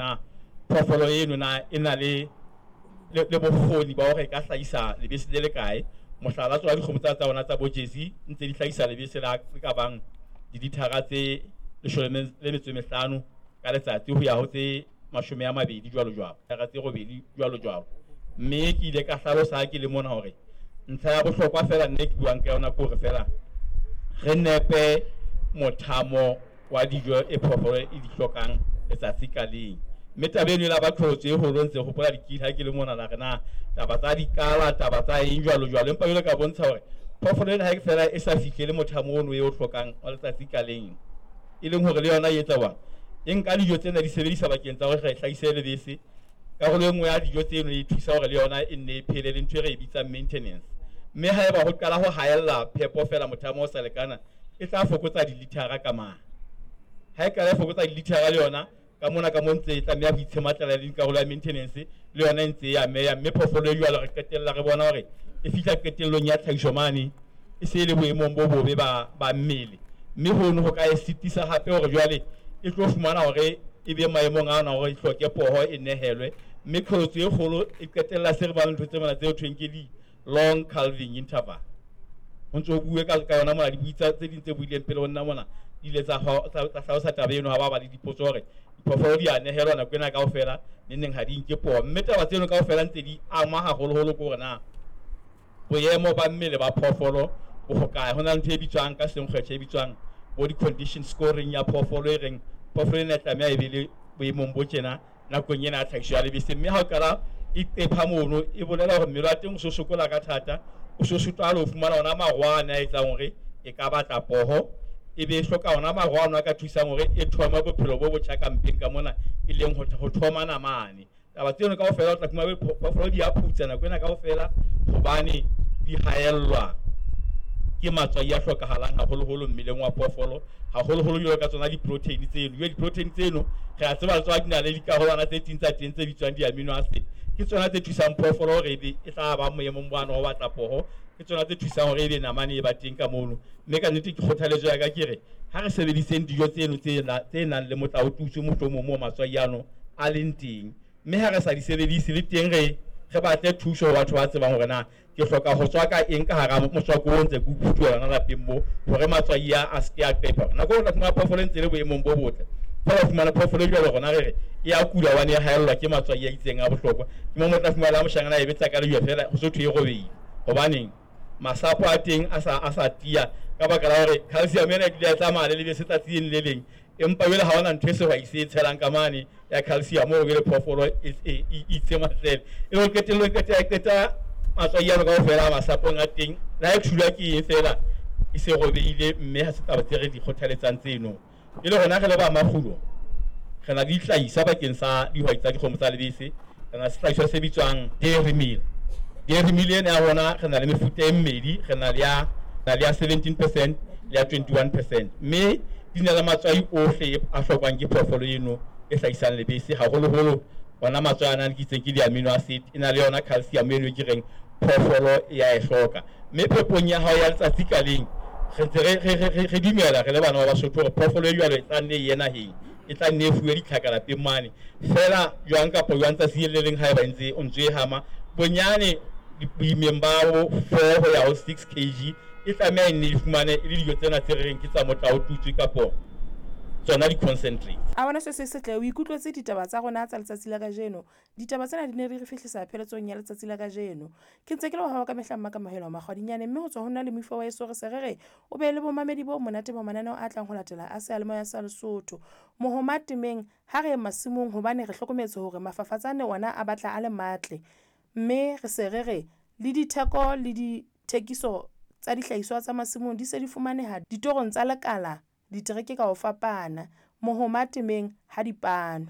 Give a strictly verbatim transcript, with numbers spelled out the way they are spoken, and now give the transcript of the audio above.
na phoofolo eno na e na le le, le bokgoni ba hore e ka hlahisa lebese le le kae. Mohlala, tsona dikgomo tsa tsa rona tsa bo Jersey ntse di hlahisa lebese la le ka bang dilithara tse leshome le metso e mehlano ka letsatsi ho ya ho tse mashome a mabedi jwalo jwalo, thara tse robedi jwalo jwalo. Mme ke ile ka hlalosa ha ke le mona hore ntlha ya bohlokwa fela nne ke buang ka yona ke hore fela re nepe mothamo wa dijo e phoofolo e di hlokang letsatsi ka leng. Mme taba eno e la ba qholotso e holo, ntse hopola dikile ha ke le mona la re na taba tsa dikala, taba tsa eng jwalo jwalo. Empa jwale ka bontsha hore phoofolo ena ha e fela e sa fihlele mothamo ono e o hlokang wa letsatsi ka leng, e leng hore le yona e etsa jwang, e nka dijo tsena di sebedisa bakeng tsa hore re hlahise lebese. Karolo e nngwe ya dijo tseno e thusa hore le yona e nne e phele le ntho e re e bitsang maintenance. Mme haeba ho qala ho haella phepo fela mothamo o sa lekana, e tla fokotsa dilithara ka mane. Ha e qala e fokotsa dilithara le yona ka mona ka mo ntse e tlameha ho itshematlela le karolo ya maintenance le yona e ntse e ameha. Mme phoofolo e jwalo re qetella re bona hore e fihla qetellong ya tlhahiso mane e se e le boemong bo bobe ba ba mmele. Mme hono ho ka e sitisa hape hore jwale e tlo fumana hore e be maemong ana hore e hloke poho e nehelwe. Mme qholotso e kgolo e qetella se re bang ntho tse mona tse ho thweng ke di long calving interval. Ho ntso ho bue ka ka yona mona, dibui tsa tse ding tse buileng pele ho nna mona di ile tsa tsa hlalosa taba eno ha ba ba le dipotso hore diphoofolo di a nehelwa nako ena kaofela, nengneng ha di nke poho. Mme taba tseno kaofela ntse di ama haholoholo ke hore na boemo ba mmele ba phoofolo bo hokae. Ho na le ntho e bitswang ka senkgwetjhe e bitswang bo di-condition scoring ya phoofolo e reng phoofolo ena e tlameha e be le boemong bo tjena nakong ena ya tlhahiso ya lebese. Mme ha o qala e qepha mono, e bolela hore mmele wa teng o so sokola ka thata, o so sotwa le ho fumana ona marwana a etsang hore e ka batla poho, e be e hloka ona marwana a ka thusang hore e thome bophelo bo botjha ka mpeng ka mona, e leng ho ho thoma namane. Taba tseno kaofela o tla fumana phoofolo di a phutsa nako ena kaofela hobane di haellwa ke matswai a hlokahalang haholoholo mmeleng wa phoofolo, haholoholo jwalo ka tsona di-protein tseno. Jwale di-protein tseno re a tseba le tsona di na le dikarolwana tse ding tsa teng tse bitswang di-amino acid. Ke tsona tse thusang phoofolo hore ebe e tla ba boemong bana ho batla poho, ke tsona tse thusang hore ebe namane e ba teng ka mono. Mme ka nnete ke kgothaletso ya ka ke re ha re sebediseng dijo tseno tse tse nang le motlaotutswe mohlomong moo matswai ano a leng teng. Mme ha re sa di sebedise le teng re re batle thuso ho batho ba tsebang hore na ke hloka ho tswaka eng ka hara motswako o ntse ke o phutuhela hona lapeng mo hore matswai a a se ke a qepha. Nako o tla fumana phoofolo e ntse e le boemong bo botle, feela o fumana phoofolo e jwalo rona re re e a kula hobane e haellwa ke matswai a itseng a bohlokwa. Ke mo o tla fumana moshanyana a e betsa ka lejwe feela ho so thwe e robehile. Hobaneng? Masapo a teng a sa a sa tiya ka baka la hore calcium ena e dula e tsamaya le lebese tsatsi le leng. Empa jwale ha hona ntho e sehwai se e tshelang ka mane ya calcium hore jwale phoofolo e e itshematlele. E le hore qetellong e qeta e qeta matswai ano kaofela a masapong a teng. Le ha e thulwa ke eng feela e se robehile, mme ha se taba tse re di kgothaletsang tseno. E le rona re le ba makgulo re na le dihlahiswa bakeng sa dihwai tsa dikgomo tsa lebese. Re na le sehlahiswa se bitswang dairy meal. Dairy meal ena ya rona re na le mefuta e mmedi, re na le ya na le ya seventeen percent le ya twenty-one percent. Mme di na le matswai ohle a hlokwang ke phoofolo eno e hlahisang lebese, haholoholo ona matswai ana ke itseng ke di-amino acid, e na le yona calcium eno e ke reng phoofolo e ya e hloka. Mme phepong ya hao ya letsatsi ka leng re ntse re re re re dumela re le bana ba Basotho hore phoofolo e jwalo e tla nne e ye naheng, e tla nne e fuwe ditlhaka lapeng mane. Feela jwang kapa jwang tsatsi le leng haeba ntse o ntso e hama bonyane boimeng ba bo four ho ya ho six kg e tlameha e nne e fumane e le dijo tsena tse re reng ke tsa motlaotutswe kapo tsona di-concentrates. A bona se se setle, o ikutlwetse ditaba tsa rona tsa letsatsi la kajeno. Ditaba tsena di ne di re fihlisa pheletsong ya letsatsi la kajeno. Ke ntse ke le wa hao ka mehla Mmakamohelo Makgwadinyane, mme ho tswa ho nna le moifo wa heso re se re re o be le bomamedi bo monate ba mananeo a tlang ho latela a seyalemoya sa Lesotho. Mohoma temeng ha re ye masimong hobane re hlokometse hore mafafatsane ona a batla a le matle, mme re se re re le ditheko le dithekiso tsa dihlahiswa tsa masimong di se di fumaneha ditorong tsa lekala ditereke ka ho fapana. Mohoma temeng ha dipano.